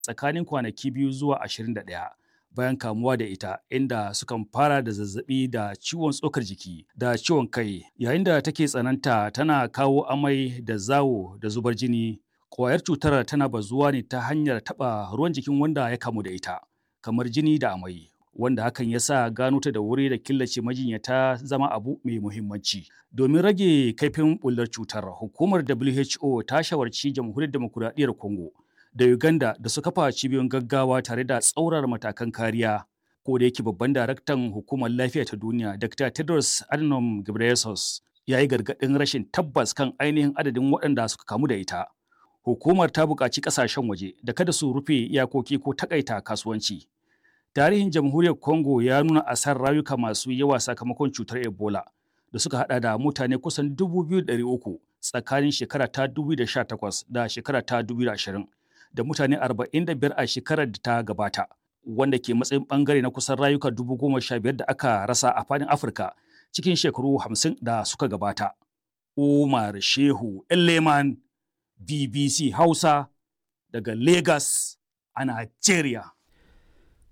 Tsakanin kwanaki 2 zuwa 21 bayan kamuwa da ita, inda sukan fara da zazzabi da ciwon tsokar jiki da ciwon kai, yayin da take tsananta tana kawo amai da zawo da zubar jini. Ƙwayar cutar tana bazuwa ne ta hanyar taɓa ruwan jikin wanda ya kamu da ita, kamar jini da amai, wanda hakan ya sa gano ta da wuri da killace majinyata zama abu mai muhimmanci. Domin rage kaifin bullar cutar, hukumar WHO ta shawarci Jamhuriyar Demokuraɗiyyar Congo da Uganda da su kafa cibiyoyin gaggawa tare da tsaurara matakan kariya. Ko da yake babban daraktan hukumar lafiya ta duniya, Dr. Tedros Adhanom Ghebreyesus, ya yi gargaɗin rashin tabbas kan ainihin adadin waɗanda suka kamu da ita. Hukumar ta buƙaci ƙasashen waje da kada su rufe iyakoki ko takaita kasuwanci. Tarihin Jamhuriyar Congo ya nuna asarar rayuka masu yawa sakamakon cutar Ebola da suka hada da mutane kusan 2,300 tsakanin shekara ta 2018 da shekara ta 2020 da mutane 45 a shekarar da ta gabata, wanda ke matsayin bangare na kusan rayuka 15,000 da aka rasa a fadin Afirka cikin shekaru 50 da suka gabata. Umar Shehu Elleman, BBC Hausa, daga Lagos a Nigeria.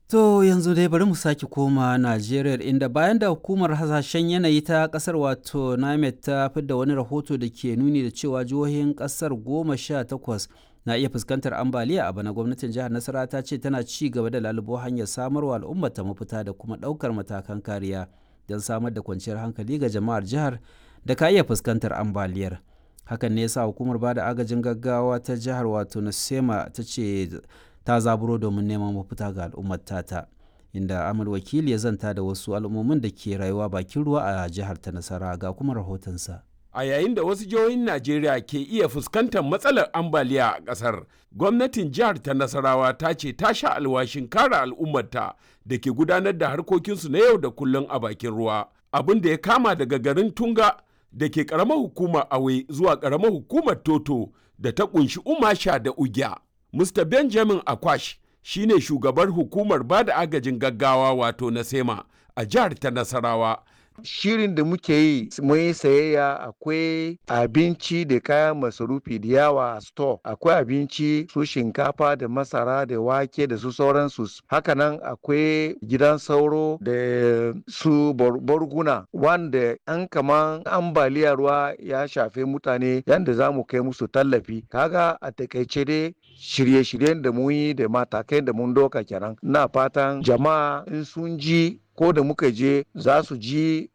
To yanzu dai bari mu sake koma Najeriya, inda bayan da hukumar hasashen yanayi ta kasar wato NIMET ta fidda wani rahoto da ke nuni da cewa jihohin kasar 18 na iya fuskantar ambaliya a bana, gwamnatin jihar Nasarawa ta ce tana ci gaba da lalubo hanyar samarwa al'ummar ta mafita da kuma ɗaukar matakan kariya don samar da kwanciyar hankali ga jama'ar jihar da ka iya fuskantar ambaliyar. Hakan ne yasa hukumar bada agajin gaggawa ta jihar wato Nasema ta ce ta zaburo domin neman mafita ga al'ummar tata, inda Amal Wakili ya zanta da wasu al'ummomin da ke rayuwa bakin ruwa a jihar ta Nasara, ga kuma rahotonsa. A yayin da wasu jihohin Najeriya ke iya fuskantar matsalar ambaliya a ƙasar, gwamnatin jihar ta Nasarawa ta ce ta sha alwashin kare al'ummarta da ke gudanar da harkokinsu na yau da kullum a bakin ruwa. Abin da ya kama daga garin Tunga da ke ƙaramar hukumar Awe zuwa ƙaramar hukumar Toto da ta ƙunshi Umasha da Ugya. Mr. Benjamin Akwash shine shugabar hukumar bada agajin gaggawa wato Nasema a jihar ta Nasarawa. Shirin da muke yi, mun yi sayayya, akwai abinci da kayan masarufi da yawa a store. Akwai abinci su shinkafa da masara da wake da su sauransu. Hakanan akwai gidan sauro da su barguna, wanda an kaman ambaliya ruwa ya shafe mutane, yadda za mu kai musu tallafi. Kaga a takaice dai shirye-shiryen da mun yi da matakai da mun doka kenan. Ina fatan jama'a in sun ji ko da muka je za su ji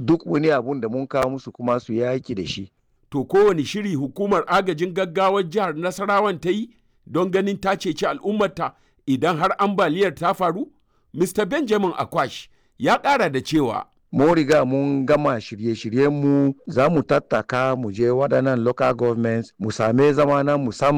duk wani abun da mun kawo musu kuma su yaki da shi. To, kowane shiri hukumar agajin gaggawar jihar Nasarawan ta yi don ganin ta ceci al'ummarta idan har ambaliyar ta faru? Mr. Benjamin Akwash ya ƙara da cewa. Mun riga mun gama shirye-shiryenmu, za mu tattaka mu je waɗannan local governments mu same zama na musamman.